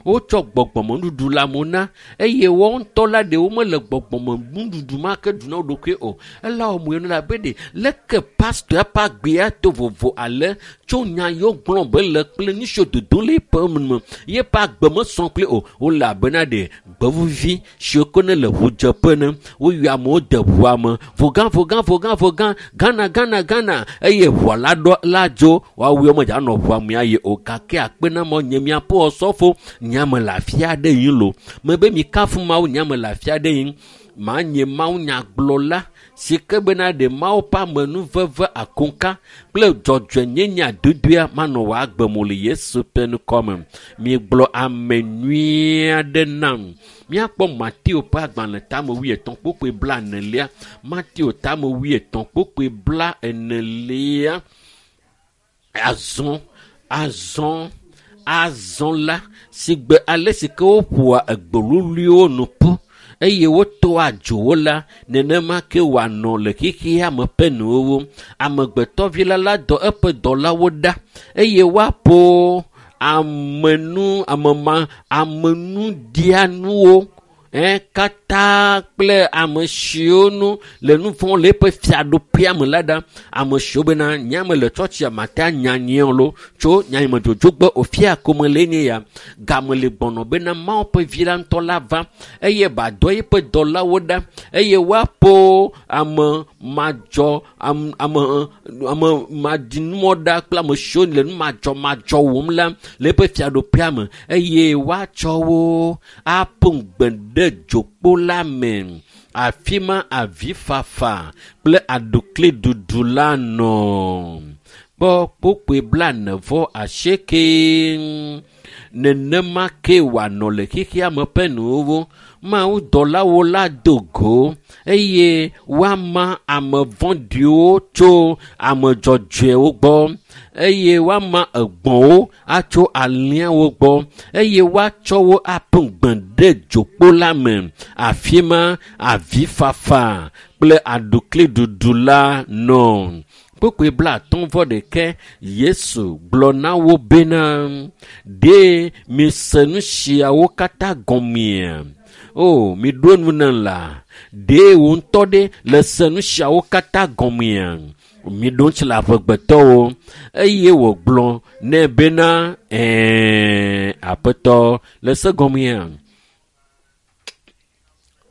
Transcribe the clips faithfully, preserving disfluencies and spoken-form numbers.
Wotsɔ gbɔgbɔmenuɖuɖu le amewo na eye woawo ŋutɔ la ɖewo mele gbɔgbɔmenuɖuɖu ma ke ɖu na wo ɖokui o. Ela wɔ mo la be ɖe leke pastor ƒe agbea to vovo ale tso nya yiwo gblɔm be le kple nu siwo dodom le eƒe me yeƒe agbe mesɔ kple o. Wole abena ɖe gbevuvi siwo ke ne le ʋudzeƒe ne woyɔ amewo de ʋua me vogã vogã vogã vogã Ghana Ghana Ghana eye ʋua la ɖɔ la dzo woawoe medza nɔ ʋua me ayi o gake akpe na mɔ nye miaƒe ɔsɔfo nyame le afi aɖe yim lo mebe mi kafu Mawu nyame le afi aɖe yim manye Mawu nyagblɔla si ke bena ɖe Mawu ƒe amenuveve akonka kple dzɔdzɔenyenye adodoea manɔ wò agbe me le Yesu ƒe ŋkɔme. Migblɔ ame nyui aɖe nam. Míakpɔ Mateo ƒe agbalẽ tame wuietɔ̃ kpukpui bla enelia. Mateo tame wuietɔ̃ kpukpui bla enelia. Azɔ, azɔ, azɔ la, si gbe ale si ke woƒoa egbeluliwo nu ƒu eye wotoa dzowo la, nenema ke wòanɔ le xexea me ƒe nuwo. Amegbetɔvi la la dɔ eƒe dɔlawo ɖa eye woaƒo amenu, amema, amenuɖianuwo eh, katã kple ame siwo nu le nu vɔ̃ le eƒe fiaɖuƒea me la ɖa. Ame siwo bena nyame le tsɔtsia mate anya nyuie lo tso nyanyime dzodzogbe ofia kome le nye ya. Game le gbɔnɔ bena Mawu ƒe vi la ŋutɔ la va eye badɔ eƒe dɔlawo ɖa eye woaƒo ame madzɔ ame ame ame madinumɔ ɖa kple ame siwo le nu madzɔmadzɔ wɔm la le eƒe fiaɖuƒea me eye woatsɔ wo aƒo ŋugbe ɖe dzokpo la me. Afi ma avifafa kple aɖukliɖuɖu la nɔ. Kpɔ kpukpui blaene vɔ asieke. Nenema ke wòanɔ le xexea me ƒe nuwo. Mawu dɔlawo la do go eye woama ame vɔ̃ɖiwo tso ame dzɔdzɔewo gbɔ eye woama egbɔ̃wo atso alẽawo gbɔ eye woatsɔ wo aƒu gbe ɖe dzokpo la me. Afi ma avifafa kple aɖukliɖuɖu la nɔ. Kpukpui blaatɔ̃ vɔ ɖeke Yesu gblɔ na wo bena, ɖe mise nu siawo katã gɔmea? O, miɖo nu nam la, ɖe wò ŋutɔ ɖe le se nu siawo katã gɔmea? Miɖo ŋuti le amegbetɔwo. Eye wògblɔ nɛ bena, ɛ̃, Aƒetɔ, le se gɔmea?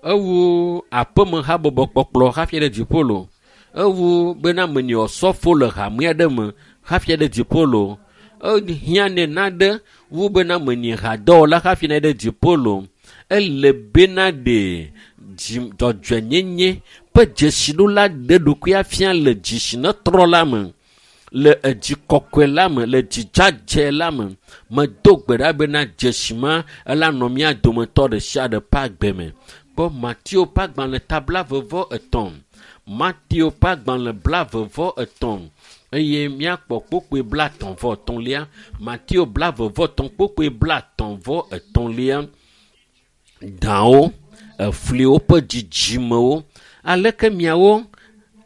Ewu aƒeme habɔbɔ kpɔkplɔ hafi ɖe dziƒo lo. Ewu bena menye ɔsɔfo le hame aɖe me hafi ɖe dziƒo lo. Ehiã nɛ naɖe wu bena menye hadɔwɔla hafi ne ɖe dziƒo lo. Ele bena ɖe dzi dzɔdzɔenyenye ƒe dzesiɖola ɖe ɖokui afia le dzi si netrɔ la me, le edzi kɔkɔe la me, le dzidzadze la me. Medo gbe ɖa bena dzesi ma ela nɔ mía dometɔ ɖe sia ɖe ƒe agbe me. Kpɔ Mateo ƒe agbalẽ ta blaeve vɔ etɔ̃. Mateo ƒe agbalẽ blaeve vɔ etɔ̃ eye míakpɔ kpukpui blaetɔ̃ vɔ etɔ̃lia. Mateo blaeve vɔ etɔ̃ kpukpui blaetɔ̃ vɔ etɔ̃lia. Dawo, efliwo ƒe dzidzimewo. Aleke miawo,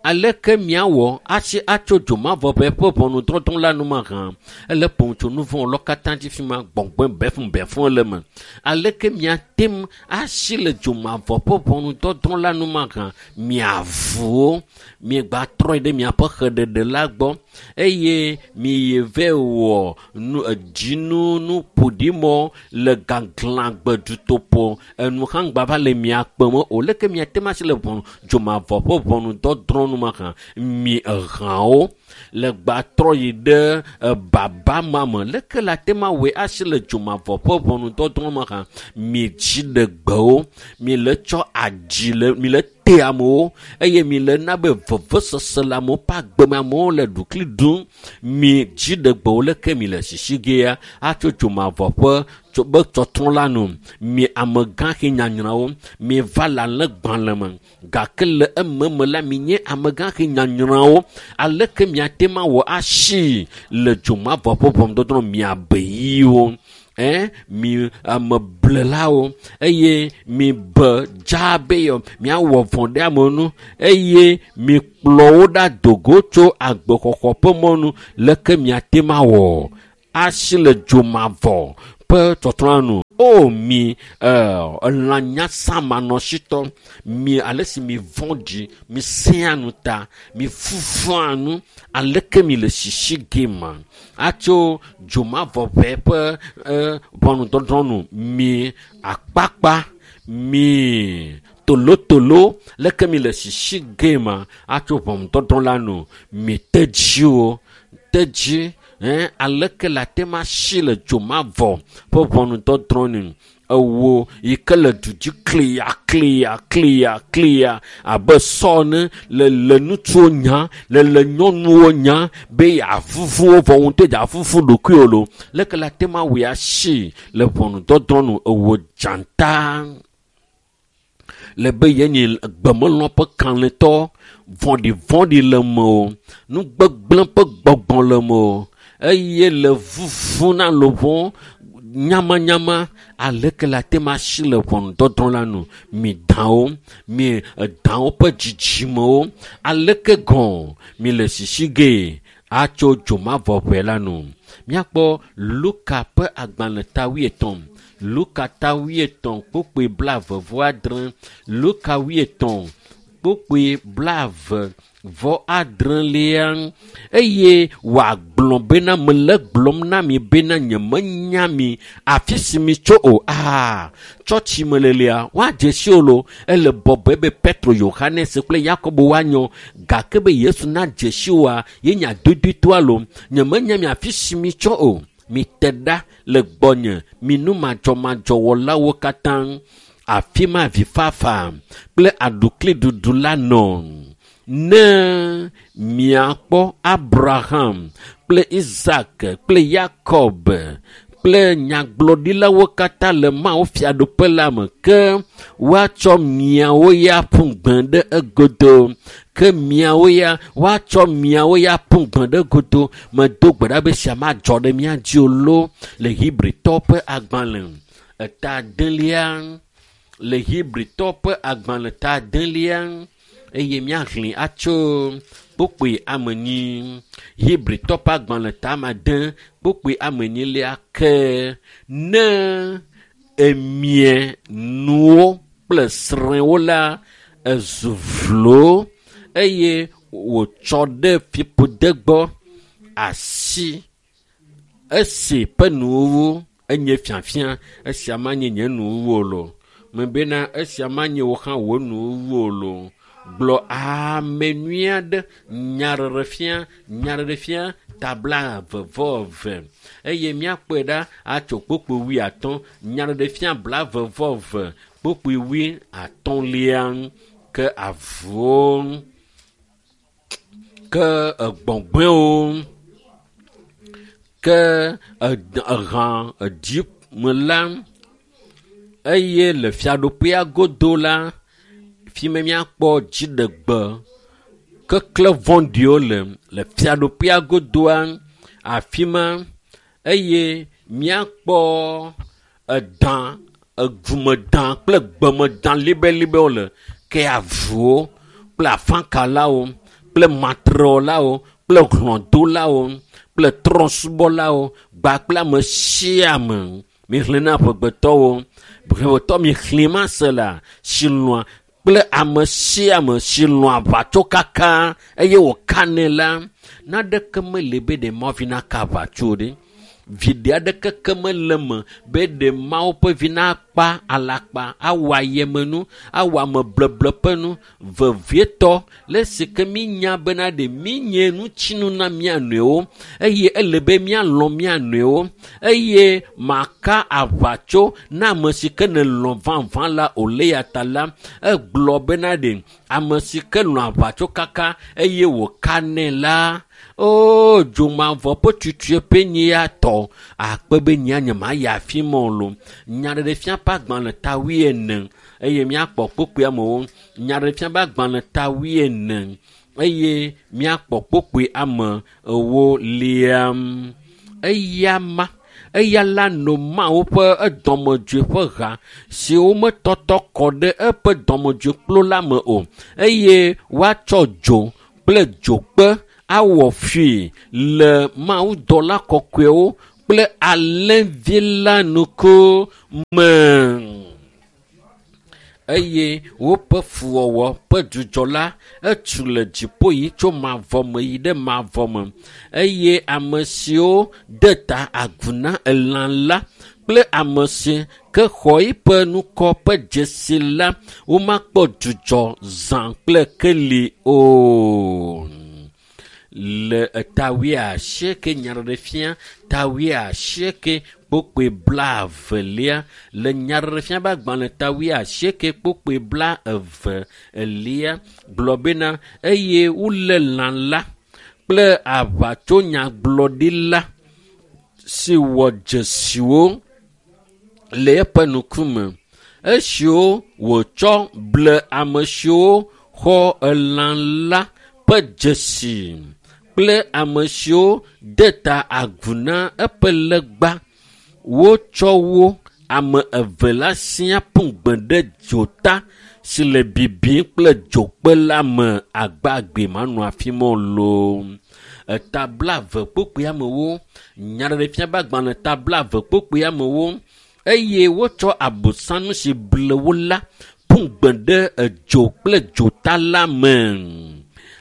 aleke miawɔ atsi atso dzomavɔ ƒe ƒe ʋɔnudɔdrɔ̃ la nu mahã? Ele ƒom tso nu vɔ̃ lɔ katã dzi fi ma gbɔgbɔe befun befun le me. Aleke miate ŋu asi le dzomavɔ ƒe ʋɔnudɔdrɔ̃ la nu mahã? Miavuwo, miegba trɔe ɖe miaƒe xeɖeɖe la gbɔ eye miyi vɛ wɔ nu dzinu nu ƒoɖimɔ le gaglãgbe dutoƒo enu hã ŋgba va le mia kpem o. Leke miate ŋu asi le ʋɔnu dzomavɔ ƒe ʋɔnudɔdrɔ̃ nu mahã? Mi ehãwo le gba trɔ yi ɖe ebaba ma me. Leke la te ma wɔe asi le dzomavɔ ƒe ʋɔnudɔdrɔ̃ mahã? Mi dziɖegbewo, mi le tsɔ adzi le mi le te amewo eye mi le na be vevesese le amewo ƒe agbe me amewo le ɖukli ɖum. Mi dziɖegbewo leke mi le sisi gea atso dzomavɔ ƒe tso be tsɔtrɔ la nu. Mi amegãxi nyanyrawo, mi va le alẽgbalẽ me gake le ememe la mi nye amegãxi nyanyrawo. Aleke miate ma wɔ asi le dzomavɔ ƒe ʋɔnudɔdrɔ̃ miabe yiwo? Eh, mi ameblelawo eye mi be dza be yɔ miawɔ vɔ̃ ɖe amewo ŋu eye mi kplɔ wo ɖa dogo tso agbexɔxɔ ƒe mɔnu. Leke miate ma wɔ asi le dzomavɔ ƒe tsɔtsrɔ̃a nu. O mi elãnyasamanɔsitɔ, mi ale si mi vɔ̃ɖi, mi sẽa nu ta, mi fufua nu, aleke mi le sisi ge ma atso dzomavɔʋe ƒe ʋɔnudɔdrɔ̃ nu. Mi akpakpa, mi tolotolo, leke mi le sisi ge ma atso ʋɔnudɔdrɔ̃ la nu. Mi tedziwo, tedzi, eh, aleke la te ma si le dzomavɔ ƒe ʋɔnudɔdrɔ̃ nu. Ewo yi ke le du dzi klia klia klia klia abe sɔ ne le le ŋutsuwo nya, le le nyɔnuwo nya be yeavuvu wo vɔ ŋutɔ dza vuvu ɖokuiwo lo. Leke la te ma wɔ asi le ʋɔnudɔdrɔ̃ nu. Ewo dzata le be yenye gbemelɔ ƒe kalẽtɔ, vɔ̃ɖivɔ̃ɖi le me o, nugbegblẽ ƒe gbɔgbɔ le me o, eye le vuvu na luʋɔ nyamanyama. Aleke la te ma si le ʋɔnudɔdrɔ̃ la nu. Mi dawo, mi dawo ƒe dzidzimewo, aleke gɔ̃ mi le sisi ge atso dzomavɔʋe la nu. Míakpɔ Luka ƒe agbalẽ ta wuietɔ̃, Luka ta wuietɔ̃ kpukpui blaeve vɔ adre, Luka wuietɔ̃ kpukpui blaeve vɔ adrelia, eye wòagblɔ bena mele gblɔm na mi bena nyemenya mi afi si mi tso o. Aa, tsɔtsi melelia woadze si o lo. Ele bɔbɔe be Petro, Yohanes kple Yakobo woanyɔ, gake be Yesu nadze si oa, ye nya dodoetoa lo. Nyemenya mi afi si mi tso o. Mi te ɖa le gbɔnye, mi nu madzɔmadzɔwɔlawo katã. Afi ma vifafa kple aɖukliɖuɖu la nɔ. Ne miakpɔ Abraham kple Isaac kple Yakob kple nyagblɔɖilawo katã le Mawu fiaɖuƒe la me, ke woatsɔ miawo ya ƒu gbe ɖe egodo. Ke miawo ya woatsɔ miawo ya ƒu gbe ɖe egodo. Medo gbe ɖa be sia madzɔ ɖe mía dzi o lo. Le Hebritɔwo ƒe agbalẽ eta adelia, le Hebritɔwo ƒe agbalẽ ta adelia, eye míaxlẽ atso kpukpui ame enyi. Hebritɔwo ƒe agbalẽ ta ame ade kpukpui ame enyilia ke ne emie nuwo kple srẽwo la, ezu vlo eye wòtsɔ ɖe fiƒode gbɔ asi esi ƒe nuwuwu enye fiafia. Esia manye nye nuwuwu o lo. Mebena esia manye wò hã wò nuwuwu o lo. Gblɔ ame nyui aɖe nyaɖeɖefia, nyaɖeɖefia ta blaeve vɔ eve eye míakpɔe ɖa atso kpukpui wuiatɔ̃. Nyaɖeɖefia blaeve vɔ eve kpukpui wuiatɔ̃lia ke avuwo, ke egbɔgbɔewo, ke ehã edzi me la, eye le fiaɖuƒea godo la, fi me míakpɔ dziɖegbe kekle vɔ̃ɖiwo le le fiaɖuƒea godoa afi ma, eye míakpɔ edã, egumedã kple gbemedã libelibewo le ke avuwo kple afãkalawo kple matrewɔlawo kple hlɔ̃dolawo kple trɔ̃subɔlawo kpakple ame sia ame. Mixlẽ na ƒegbetɔwo, ƒegbetɔ mixlẽ ma se la si lɔ̃a kple ame sia ame si lɔ̃a aʋatsokaka eye wòkanɛ la, naneke mele be ɖe Mawu vi naka aʋatso ɖe. Viɖe aɖeke ke mele eme be ɖe Mawu ƒe vi nakpa alakpa, awɔ ayemenu, awɔ amebleble ƒe nu, vevietɔ le esi ke mínya bena ɖe mínye ŋutinu na mía nɔewo eye ele be míalɔ̃ mía nɔewo eye maka aʋatso na ame si ke nelɔ̃ vavã la o. Le ya ta la, egblɔ bena ɖe ame si ke lɔ̃ aʋatsokaka eye wòkanɛ la, o dzomavɔ ƒe tutueƒe nye ya tɔ akpe be nyea nyemayi afi ma o lo. Nyaɖeɖefia ƒe agbalẽ ta wuiene eye míakpɔ kpukpui amewo. Nyaɖeɖefia ƒe agbalẽ ta wuiene eye míakpɔ kpukpui ame ewolia. Eya ma, eya la no Mawu ƒe edɔmedzoe ƒe ha si wometɔtɔ kɔ ɖe eƒe dɔmedzoekplu la me o, eye woatsɔ dzo kple dzokpe awɔ fui le mawudɔla kɔkɔewo kple alẽvi la ŋkume. Eye woƒe fuwɔwɔ ƒe dzudzɔ la etu le dziƒo yi tso mavɔ me yi ɖe mavɔ me. Eye ame siwo de ta agu na elã la kple ame si ke xɔ eƒe ŋkɔ ƒe dzesi la, womakpɔ dzudzɔ zã kple keli o. Le eta wuiasieke nyaɖeɖefia ta wuiasieke kpokpoe blaevelia le nyaɖeɖefia ƒe agbalẽ ta wuiasieke kpokpoe blaeve elia gblɔ bena eye wolé lã la kple aʋatsonyagblɔɖila si wɔ dzesiwo le eƒe ŋkume esiwo wòtsɔ ble ame siwo xɔ elã la ƒe dzesi kple ame siwo de ta agu na eƒe legba. Wotsɔ wo ame eve la siaa ƒu gbe ɖe dzota si le bibim kple dzokpe la me agbagbe manɔ afi ma o loo. Eta blaeve kpokpoe amewo nyaɖeɖefia ƒe agbalẽ ta blaeve kpokpoe amewo eye wotsɔ abosam si ble wo la ƒu gbe ɖe edzo kple dzota la me.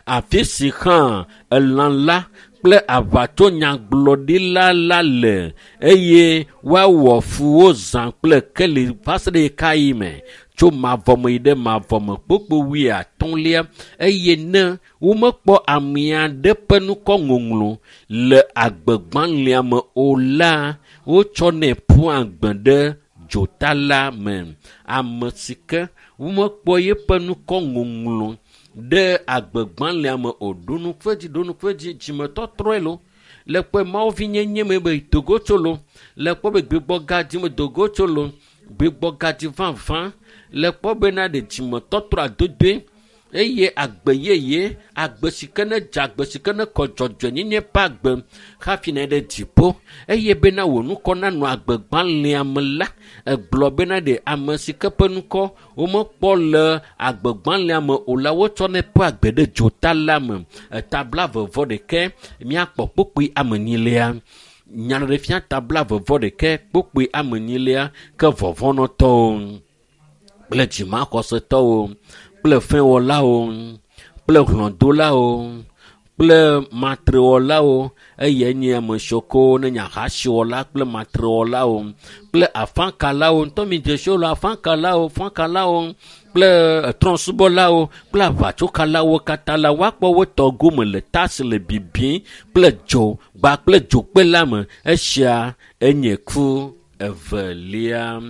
Afi si hã elã la kple aʋatsonyagblɔɖila la le eye woawɔ fu wo zã kple keli va se ɖe ɣekaɣi me tso mavɔ me yi ɖe mavɔ me kpokpo wuiatɔ̃lia eye ne womekpɔ ame aɖe ƒe ŋkɔ ŋɔŋlɔ le agbegbalẽa me o la, wotsɔnɛ ƒua gbe ɖe dzota la me. Ame si ke womekpɔ yeƒe ŋkɔ ŋɔŋlɔ ɖe agbegbalẽa me o ɖo ŋku edzi ɖo ŋku edzi dzimetɔtrɔe lo le kpɔe mawuvinyenye me be dogo tso lo le kpɔ be gbigbɔgadzi me dogo tso lo gbigbɔgadzi vavã le kpɔ bena ɖe dzimetɔtrɔ adodoe eye agbe yeye agbe si ke ne dze agbe si ke ne kɔ dzɔdzɔenyenye ƒe agbe hafi ne ɖe dziƒo eye bena wò ŋkɔ nanɔ agbegbalẽa me la egblɔ bena ɖe ame si ke ƒe ŋkɔ womekpɔ le agbegbalẽa me o la wotsɔnɛ ƒe agbe ɖe dzota la me. Eta blaeve vɔ ɖekɛ míakpɔ kpokpoe ame enyilia. Nyaɖeɖefia ta blaeve vɔ ɖekɛ kpokpoe ame enyilia ke vɔvɔ̃nɔtɔwo kple dzimaxɔsetɔwo kple fɛ̃wɔlawo kple hlɔ̃dolawo kple matrewɔlawo eye nye ame siwo ke ne nye ahasiwɔla kple matrewɔlawo kple afakalawo ŋutɔ mi dzesiwo le afakalawo fakalawo kple trɔ̃subɔlawo kple aʋatsokalawo katã la woakpɔ wo tɔ gome le ta si le bibim kple dzo gba kple dzokpe la me. Esia enye ku evelia.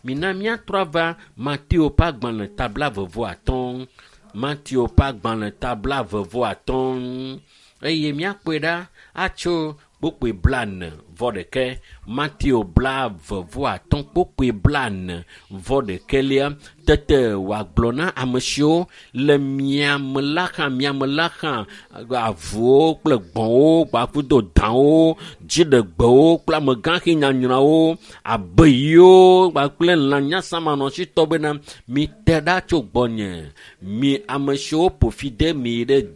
Mina míatrɔ ava Mateo ƒe agbalẽ ta blaeve vɔ atɔ̃. Mateo ƒe agbalẽ ta blaeve vɔ atɔ̃ eye míakpɔe ɖa atso kpokpoe blaene vɔ ɖekɛ. Mateo blaeve vɔ atɔ̃ kpokpoe blaene vɔ ɖekɛlia. Tete wòagblɔ na ame siwo le miame la hã miame la hã avuwo kple gbɔ̃wo kpakple dawo dziɖegbewo kple amegãxi nyanyrãwo abeyiwo kpakple lã nyasamanɔsitɔ bena mite ɖa tso gbɔnye mi ame siwo ƒo fi de mi ɖe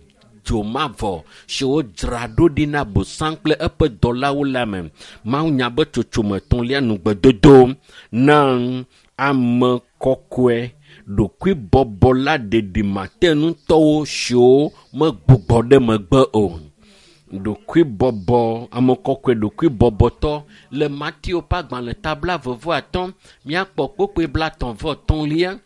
dzomavɔ si wodzra ɖo ɖi na bosam kple eƒe dɔlawo la me. Mawu nya be tsotsome etɔ̃lia nugbedodo na ame kɔkɔe ɖokuibɔbɔla ɖeɖimatenutɔwo siwo megbugbɔ ɖe megbe o. Ɖokuibɔbɔ ame kɔkɔe ɖokuibɔbɔtɔ le Mateo ƒe agbalẽ ta blaeve vɔ atɔ̃ míakpɔ kpokpoe blaetɔ̃ vɔ etɔ̃lia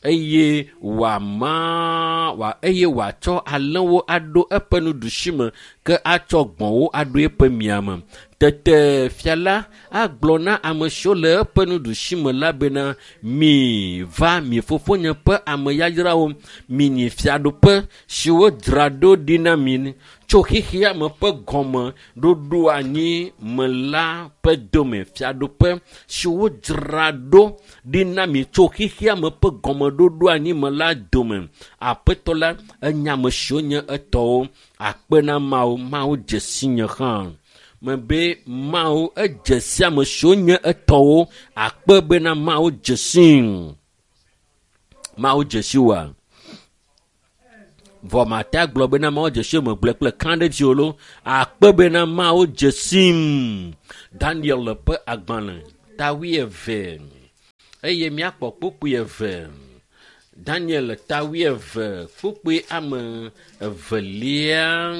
eye wòama wòa eye wòatsɔ alẽwo aɖo eƒe nuɖusime ke atsɔ gbɔ̃wo aɖo eƒe miame. Tete fia la agblɔ na ame siwo le eƒe nuɖusime la bena mi va mi fofonye ƒe ame yayrawo minyi fiaɖuƒe si wodzra ɖo ɖi na mi tso xexea me ƒe gɔme ɖoɖo anyi me la ƒe dome fiaɖuƒe si wodzra ɖo ɖi na mi tso xexea me ƒe gɔmeɖoɖo anyi me la dome. Aƒetɔ la enya ame siwo nye etɔwo akpe na Mawu Mawu dze si nye hã. Mebe Mawu edze si ame siwo nye etɔwo akpe bena Mawu dze sii. Mawu dze si woa? Vɔ mate agblɔ bena Mawu dze si me gblɔe kple kã ɖe dzi o lo. Akpe bena Mawu dze sim. Daniel ƒe agbalẽ ta wuieve eye míakpɔ kpukpui eve. Daniel ta wuieve kpukpui ame evelia.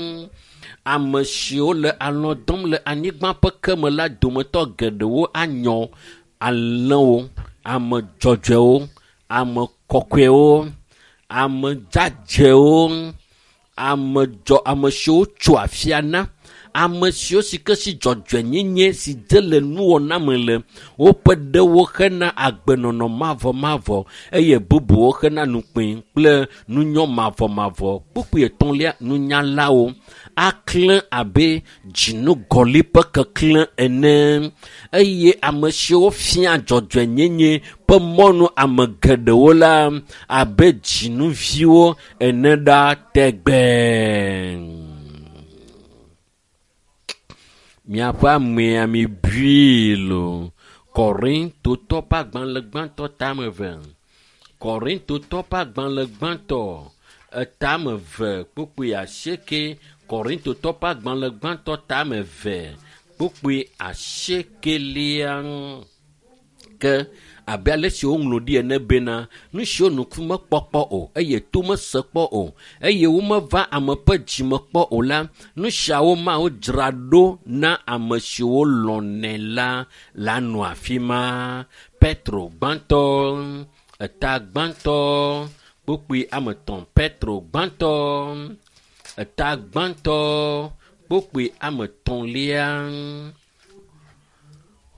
Ame siwo le alɔ̃ dɔm le anyigba ƒe keme la dometɔ geɖewo anyɔ alẽwo, ame dzɔdzɔewo, ame kɔkɔewo, ame dzadzɛwo, ame dzɔ ame siwo tso afia na, ame siwo si ke si dzɔdzɔenyenye si dze le nuwɔna me le, woƒe ɖewo hena agbenɔnɔ mavɔmavɔ eye bubuwo hena nukpẽ kple nunyɔ mavɔmavɔ. Kpukpui etɔ̃lia, nunyalawo aklẽ abe dzinugɔli ƒe keklẽ ene eye ame siwo fia dzɔdzɔenyenye ƒe mɔnu ame geɖewo la abe dzinuviwo ene ɖa tegbee. Miaƒe amea mi bui lo. Korintotɔ ƒe agbalẽ gbãtɔ tame eve. Korintotɔ ƒe agbalẽ gbãtɔ etame eve kpukpui asieke. Korintotɔ ƒe agbalẽ gbãtɔ tame eve kpukpui asiekelia. Ke abe ale si woŋlɔ ɖi ene bena nu siwo nuku mekpɔ kpɔ o eye to mese kpɔ o eye womeva ame ƒe dzime kpɔ o la, nu siawo Mawu dzra ɖo na ame siwo lɔ̃nɛ la la nɔ afi ma. Petro gbãtɔ, eta gbãtɔ, kpukpui ame etɔ̃. Petro gbãtɔ, eta gbãtɔ, kpukpui ame etɔ̃lia.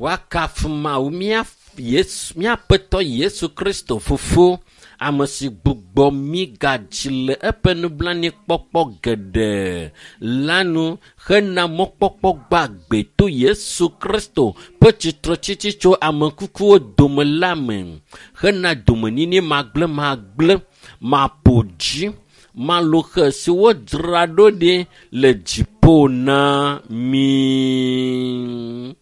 Woakafu Mawu mía Yesu, míaƒetɔ Yesu Kristo fofo, ame si gbugbɔ mí gadzi le eƒe nublanuikpɔkpɔ geɖe la nu hena mɔkpɔkpɔ gbagbe to Yesu Kristo ƒe tsitretsitsi tso ame kukuwo dome la me hena domenyinyi magblẽmagblẽ, maƒo dzi, maloxe si wodzra ɖo ɖi le dziƒo na mí.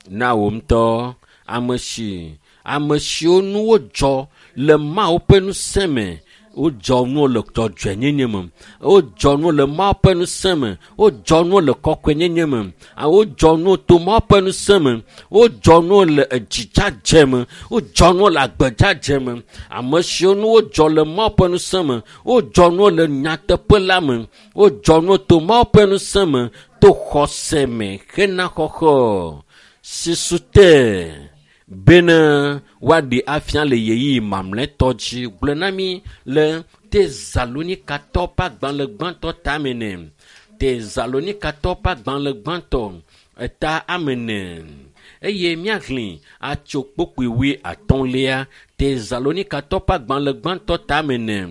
Na wò ŋutɔ ame si ame siwo nu wodzɔ le Mawu ƒe ŋusẽ me, wodzɔ nuwo le dzɔdzɔenyenye me, wodzɔ nuwo le Mawu ƒe ŋusẽ me, wodzɔ nuwo le kɔkɔenyenye me, wodzɔ nuwo to Mawu ƒe ŋusẽ me, wodzɔ nuwo le edzidzadze me, wodzɔ nuwo le agbedzadze me. Ame siwo nu wodzɔ le Mawu ƒe ŋusẽ me, wodzɔ nuwo le nyateƒe la me, wodzɔ nuwo to Mawu ƒe ŋusẽ me, to xɔse me hena xɔxɔ si su te bena woaɖe afia le ɣeyiɣi mamlɛtɔ dzi. Gblɔ na mí le Tesalonikatɔ ƒe agbalẽ gbãtɔ tame ne. Tesalonikatɔ ƒe agbalẽ gbãtɔ eta ame ene eye míaxlẽ atso kpukpui wui atɔ̃lia. Tesalonikatɔ ƒe agbalẽ gbãtɔ tame ne.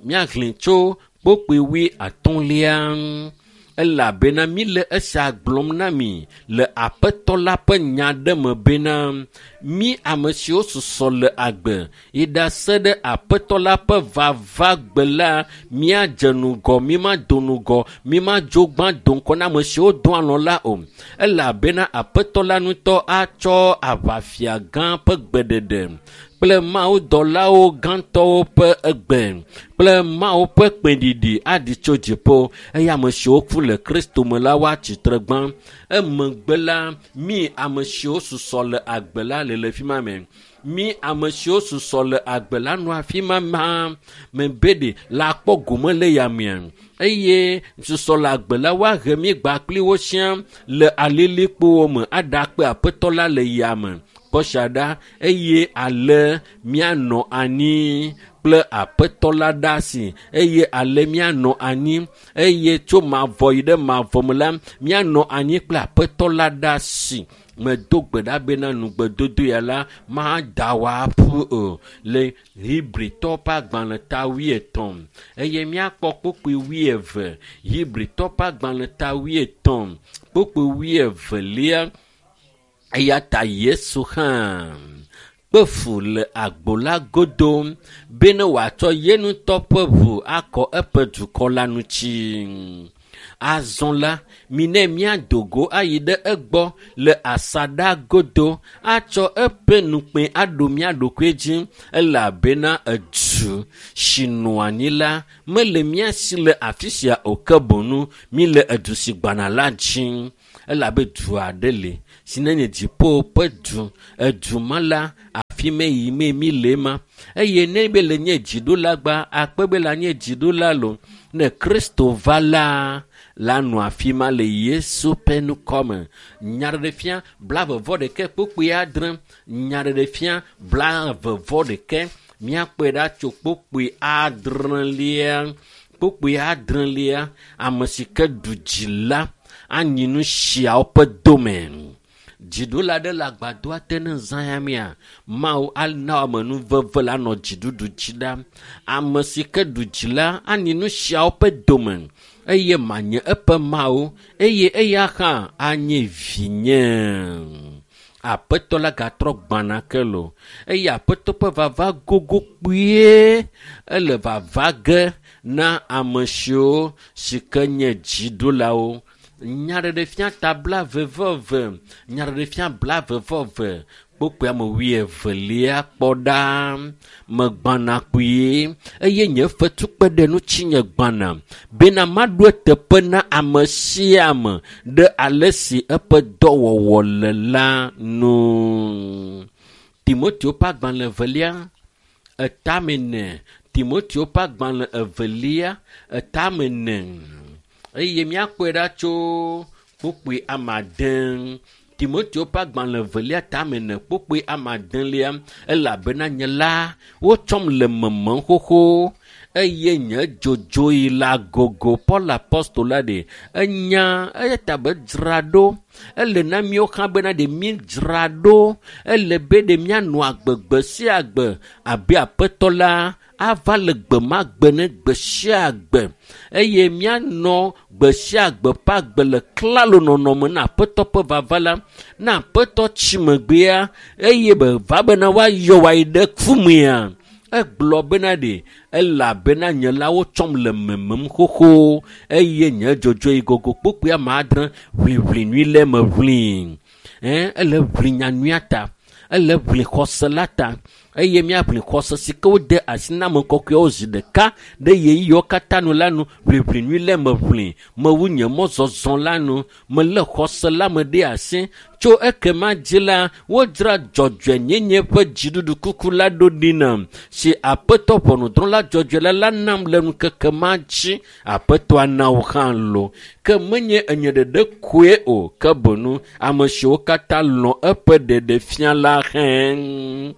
Míaxlẽ tso kpukpui wui atɔ̃lia. Elabena mí le esia gblɔm na mi le Aƒetɔ la ƒe nya ɖe me bena mí ame siwo susɔ le agbe yi ɖase ɖe Aƒetɔ la ƒe vavagbe la, míadze ŋgɔ, mímado ŋgɔ, mímadzo gbã do ŋgɔ na ame siwo do alɔ̃ la o. Elabena Aƒetɔ la ŋutɔ atsɔ aʋafia gã ƒe gbeɖeɖe kple mawudɔlawo gãtɔwo ƒe egbe kple Mawu ƒe kpẽɖiɖi aɖi tso dziƒo eye ame siwo ku le Kristo me la woatsi tre gbã. Emegbe la, mí ame siwo susɔ le agbe la le le fi ma me. Mí ame siwo susɔ le agbe la nɔ afi ma ma me be ɖe la kpɔ gome le yamea eye susɔ le agbe la woahe mí gba kpli wo sia le alilikpowo me aɖakpe Aƒetɔ la le yame kpɔsia ɖa eye ale míanɔ anyi kple Aƒetɔ la ɖe asi eye ale míanɔ anyi eye tso mavɔ yi ɖe mavɔ me la míanɔ anyi kple Aƒetɔ la ɖe asi. Medo gbe ɖa bena nugbedodo ya la mada wò aƒu o le Hebritɔ ƒe agbalẽ ta wuietɔ̃ eye míakpɔ kpukpui wuieve. Hebritɔ ƒe agbalẽ ta wuietɔ̃ kpukpui wuievelia. Eya ta Yesu hã kpe fu le agbo la godo bene wòatsɔ ye ŋutɔ ƒe ʋu akɔ eƒe dukɔ la ŋuti. Azɔ la, mine míado go ayi ɖe egbɔ le asaɖa godo atsɔ eƒe nukpe aɖo mía ɖokui dzi elabena edu si nɔ anyi la mele mía si le afi sia o ke boŋu míle edu si gbana la dzi. Elabe du aɖe li si nenye dziƒo ƒe du. Edu ma la, afi me yi me mi le ma. Eye ne be le nye dziɖula gba, akpe be la nye dziɖula lo. Ne Kristo va la, la nɔ afi ma le Yesu ƒe ŋkɔme. Nyaɖeɖefia blaeve vɔ ɖekɛ kpukpui adre. Nyaɖeɖefia blaeve vɔ ɖekɛ. Míakpɔe ɖa tso kpukpui adrelia. Kpukpui adrelia, ame si ke ɖu dzi la, anyi nu siawo ƒe dome. Dziɖula ɖe le agbadɔa te ne zã ya mea, Mawu ana amenuveve la nɔ dziɖuɖu dzi ɖa. Ame si ke ɖu dzi la anyi nu siawo ƒe dome eye manye eƒe Mawu eye eya hã anye vinye. Aƒetɔ la gatrɔ gbana ke lo eye aƒetɔ ƒe vava gogo kpuie ele vava ge na ame siwo si ke nye dziɖulawo. Nyaɖeɖefia ta blaeve vɔ eve, nyaɖeɖefia blaeve vɔ eve, kpukpui ame wuievelia kpɔ ɖa. Megbana kpuie eye nye fetu kpe ɖe ŋutinye gbana bena maɖo eteƒe na ame sia ame ɖe ale si eƒe dɔwɔwɔ le la nu. Timoteo ƒe agbalẽ evelia, etame ene. Timoteo ƒe agbalẽ evelia, etame ene. Eye míakpɔe ɖa tso kpukpui ame ade. Timoteo ƒe agbalẽ evelia tame ene kpukpui ame adelia elabena nye la wotsɔm le memem xoxo eye nye dzodzoyi la gogo. Paul apostol la ɖe enya eya ta be dzra ɖo. Ele na míawo hã bena ɖe míedzra ɖo. Ele be ɖe míanɔ agbe gbe sia gbe abe aƒetɔ la ava le gbe ma gbe ne gbe sia gbe eye míanɔ gbe sia gbe ƒe agbe le klalo nɔnɔme na aƒetɔ ƒe vava la. Na aƒetɔ tsi megbea eye be va bena woayɔ wòayi ɖe kumea. Egblɔ bena ɖe elabena nye la wotsɔm le memem xoxo eye nye dzodzoe gogo kpukpui ame adre ʋliʋli nyui le me ʋli. Ɛn, ele ʋli nyanyuia ta, ele ʋli xɔse la ta eye míaʋli xɔse si ke wode asi na ame kɔkɔewo zi ɖeka ɖe ɣeyiɣiwo katã nu la nu. Ʋliʋli nyui le me ʋli, mewu nye mɔzɔzɔ la nu, melé xɔse la me ɖe asi. Tso ekema dzi la, wodzra dzɔdzɔenyenye ƒe dziɖuɖu kuku la ɖo ɖi nam si aƒetɔ ʋɔnudrɔ̃la dzɔdzɔe la la nam le ŋkeke ma dzi. Aƒetɔa na wò hã lo. Ke menye enye ɖeɖe koe o, ke boŋu ame siwo katã lɔ̃ eƒe ɖeɖefia la hẽ.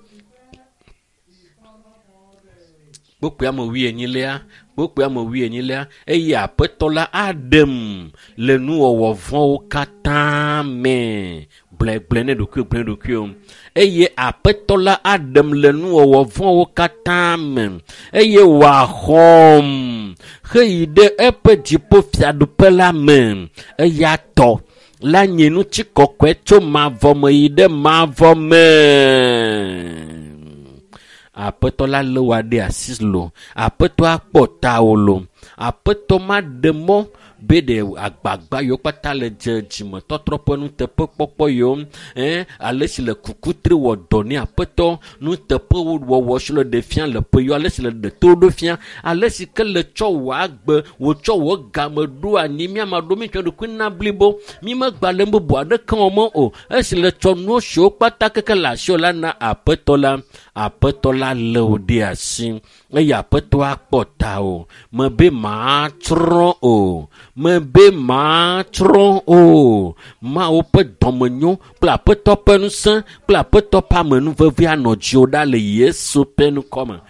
Kpukpui ame wuienyilia, kpukpui ame wuienyilia, eye aƒetɔ la aɖem le nuwɔwɔ vɔ̃wo katã me. Gblɔe, gblɔe ne ɖokuiwò, gblɔe ne ɖokuiwò. Eye aƒetɔ la aɖem le nuwɔwɔ vɔ̃wo katã me eye wòaxɔm heyi ɖe eƒe dziƒo fiaɖuƒe la me. Eya tɔ la nye ŋutikɔkɔe tso mavɔ me yi ɖe mavɔ me. Aƒetɔ la lé wò ɖe asi lo. Aƒetɔ akpɔ tawò lo. Aƒetɔ maɖe mɔ be ɖe agbagba yiwo kpata le dze dzimetɔtrɔ ƒe nuteƒekpɔkpɔ yiwo, ɛn, ale si le kukutri wɔ dɔ ne aƒetɔ, nuteƒewɔwɔ si le ɖe fia le ƒe yiwo, ale si le ɖe to ɖo fia, ale si ke le tsɔ wò agbe, wòtsɔ wò game ɖo anyi, míama ɖo mítsɔ ɖokui na blibo, mímegba le nu bubu aɖeke wɔm o, esi le tsɔ nuwo siwo kpata keke le asiwò la na aƒetɔ la, aƒetɔ la lé wò ɖe asi eye aƒetɔ akpɔ tawò. Mebe matsrɔ̃ o, mebe matsrɔ̃ o. Mawu ƒe dɔmenyo kple aƒetɔ ƒe ŋusẽ kple aƒetɔ ƒe amenuveve anɔ dziwò ɖa le Yesu ƒe ŋkɔme.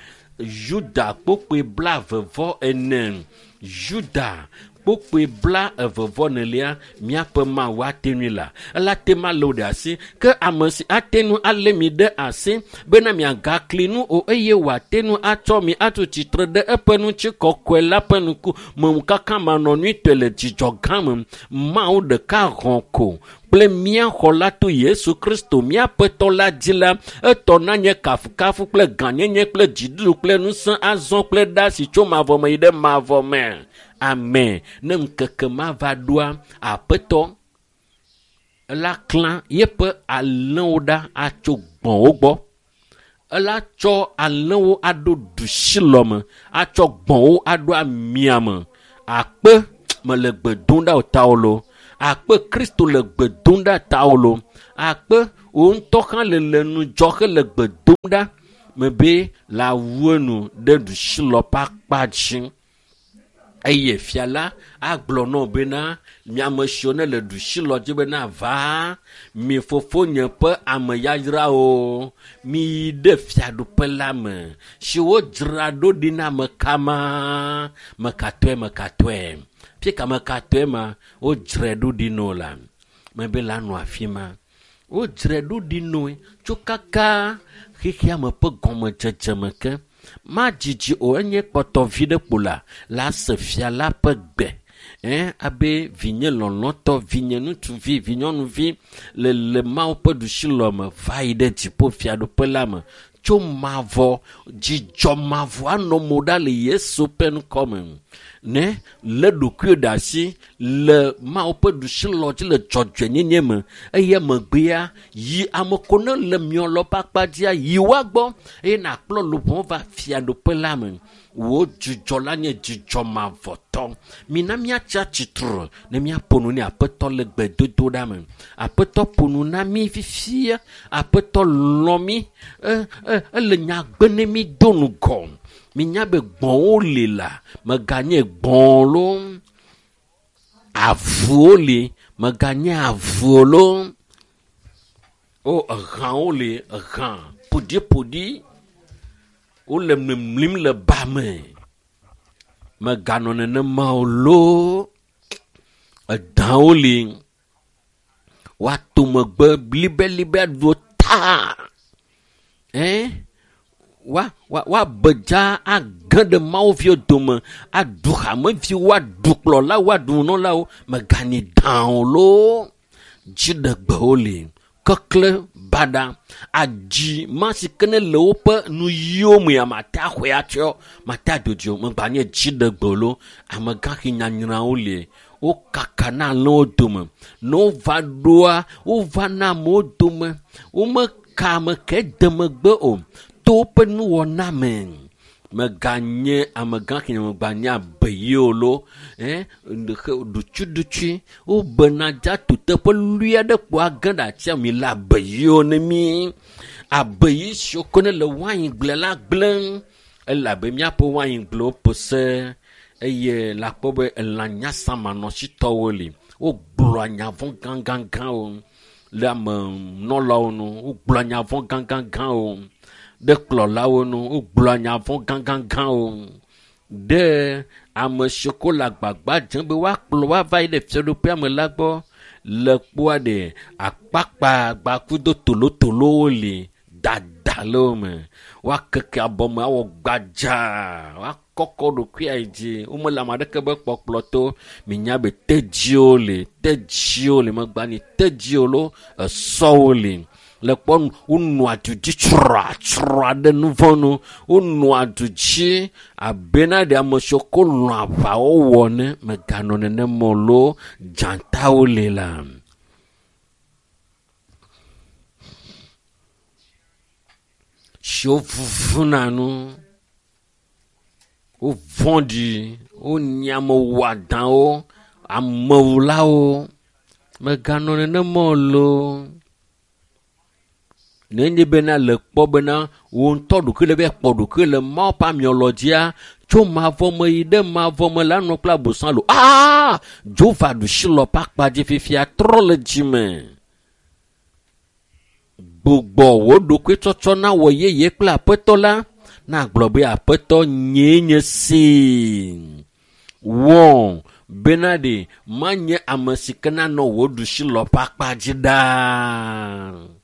Yuda kpukpui blaeve vɔ ene. Yuda kpukpui blaeve vɔ enelia, míaƒe Mawu ate ŋui la, ela te ma lé wò ɖe asi. Ke ame si ate ŋu alé mi ɖe asi bena miagakli nu o eye wòate ŋu atsɔ mi atu tsitre ɖe eƒe ŋutikɔkɔe la ƒe ŋku me kaka manɔnyuitɔe le dzidzɔ gã me. Mawu ɖeka hɔ̃ ko kple mía xɔla to Yesu Kristo míaƒetɔ la dzi la, etɔ na nye kafukafu kple gãnyenye kple dziɖuɖu kple ŋusẽ azɔ kple ɖa si tso mavɔ me yi ɖe mavɔ me. Amen. Ne ŋkeke ma va ɖoa, aƒetɔ ela klã yeƒe alẽwo ɖa atso gbɔ̃wo gbɔ. Ela tsɔ alẽwo aɖo ɖusilɔme, atsɔ gbɔ̃wo aɖo amiame. Akpe mele gbe dom ɖa o tawo lo. Akpe Kristo le gbe dom ɖa tawo lo. Akpe wo ŋutɔ hã le le ŋudzɔ hele gbe dom ɖa mebe la wu enu ɖe ɖusilɔ ƒe akpa dzi. Eye fia la agblɔ nɔ bena miame siwo ne le ɖusilɔ dzi bena va mi fofonye ƒe ame yayrawo mi yi ɖe fiaɖuƒe la me si wodzra ɖo ɖi na ame kama mekatɔe mekatɔe fika mekatɔe ma wodzrae ɖo ɖi no la mebe la nɔ afi ma wodzrae ɖo ɖi noe tso kaka xexea me ƒe gɔmedzedze me ke. Madzidzi o enye kpɔtɔ vi ɖe kpo la la se fia la ƒe gbe. Eh, abe vinye lɔlɔ̃tɔ, vinye ŋutsuvi, vinyɔnuvi le le Mawu ƒe ɖusilɔme va yi ɖe dziƒo fiaɖuƒe la me. Tso mavɔ, dzidzɔ mavɔ anɔ mo ɖa le Yesu ƒe ŋkɔme. Ne le ɖokuiwò ɖe asi le Mawu ƒe ɖusilɔ dzi le dzɔdzɔenyenye me eye megbea yi ame ko ne le miɔlɔ ƒe akpa dzia yi woa gbɔ eye nakplɔ luʋɔ va fiaɖuƒe la me. Wò dzidzɔ la nye dzidzɔ mavɔtɔ. Mina míatsi atsitre ne míaƒo nu ne Aƒetɔ le gbedodoɖa me. Aƒetɔ ƒo nu na mí fifia. Aƒetɔ lɔ̃ mí. E, e, ele nya gbe ne mí do ŋgɔ. Minya be gbɔ̃wo li la, meganye gbɔ̃ loo. Avuwo li, meganye avuwo loo. O, ehãwo li, ehã ƒoɖiƒoɖi. Wole mlimlim le ba me. Meganɔ nenema o loo. Edãwo li. Woato megbe libelibe aɖu ta. Eh? Wa, wa, woabe dza age ɖe Mawuviwo dome, aɖu hameviwo, aɖu kplɔlawo, aɖu nunɔlawo. Meganyi dã o loo. Dziɖegbewo li. Kekle baɖa. Adzi ma si ke ne le woƒe nuyiwo mea, mate axɔe atsɔ, mate adodo o. Megbanye dziɖegbe o loo. Amegãxi nyanyrawo li. Wokaka na alẽwo dome. Ne wova ɖoa, wova na amewo dome. Womeka ame ke de megbe o. To woƒe nuwɔna me. Meganye amegãxi megbanye abeyi o loo. Eh, ɖutsuɖutsui. Wobena dza to teƒe lui aɖe kpo age ɖe atsia mi le abeyiwo ne mi. Abeyi siwo ke ne le waingble la gblẽ. Elabe míaƒe waingblewo ƒo se eye la kpɔ be elã nyasamanɔsitɔwo li. Wogblɔa nya vɔ̃ gãgãgãwo le amenɔlawo nu. Wogblɔa nya vɔ̃ gãgãgãwo ɖe kplɔlawo nu. Wogblɔa nya vɔ̃ gãgãgãwo ɖe ame siwo ko le agbagba dzem be woakplɔ woava yi ɖe fiaɖuƒea me la gbɔ. Le kpoa ɖe akpakpa gbakudo tolotolowo li dada le wo me. Woakeke abɔme awɔ gbadzaa, woakɔkɔ ɖokuia yi dzi. Womele ame aɖeke be kpɔkplɔ to. Minya be tedziwo li, tedziwo li megbani tedziwo loo, esɔwo li. Le kpɔ nu, wonɔa du dzi tsratsra ɖe nu vɔ̃ nu. Wonɔa du dzi abena ɖe ame siwo ko lɔ̃a aʋawɔwɔ ne meganɔ nenema o loo. Dzatawo li la. Siwo vuvuna nu. Wovɔ̃ɖi, wonye ame wɔadãwo, amewulawo. Meganɔ nenema o loo. Nenye bena le kpɔ bena wo ŋutɔ ɖokui le be kpɔ ɖokui le Mawu ƒe amiɔlɔ dzia, tso mavɔ me yi ɖe mavɔ me la nɔ kple abosam lo. Aa! Dzo va ɖusilɔ ƒe akpa dzi fifia trɔ le dzime. Gbugbɔ wò ɖokui tsɔtsɔ na wɔ yeye kple Aƒetɔ la. Na gblɔ be Aƒetɔ nyee nye si. Wɔ bena ɖe manye ame si ke nanɔ wò ɖusilɔ ƒe akpa dzi ɖaa.